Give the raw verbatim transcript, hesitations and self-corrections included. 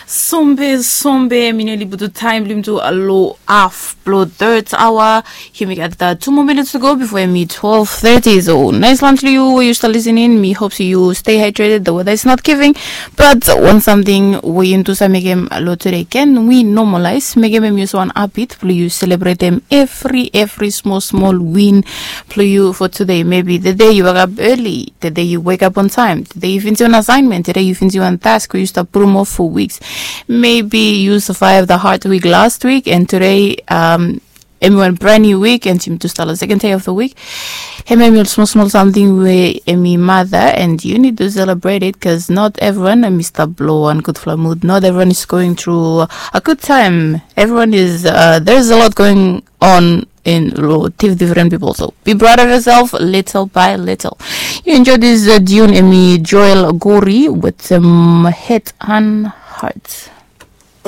Sombe sombe, mi neli butu taem blong yumi tu long haf blong third hour. Yumi gat tu moa minits tu go bifo em i twelve thirty. So nais lunch long yu we yu stap listening. Mi hope se yu stay hydrated, the weather is not giving. But wan samting we yumi tu save mekem long tude, ken wi normalize mekem em i olsem wan habit blong yu selebretem evri evri smol smol win blong yu fo tude. Maybe the day yu wake up early, the day yu wake up on time, the day yu finisim wan assignment, the day yu finisim wan task we yu stap putum off fo weeks. Maybe yu survive the hard week last week and tude em i wan brand new week and yumi tu stap long second day of the week. Em em i ol smol smol samting we em i mata and yu nid tu celebrate it, bikos not evriwan em i stap long wan gudfala mud. Not evriwan is going through a good time. Evriwan is, there is a lot going on in long difren pipol. So be proud of yourself little by little. Yu enjoy this tune, em i Joel Gori with head and heart.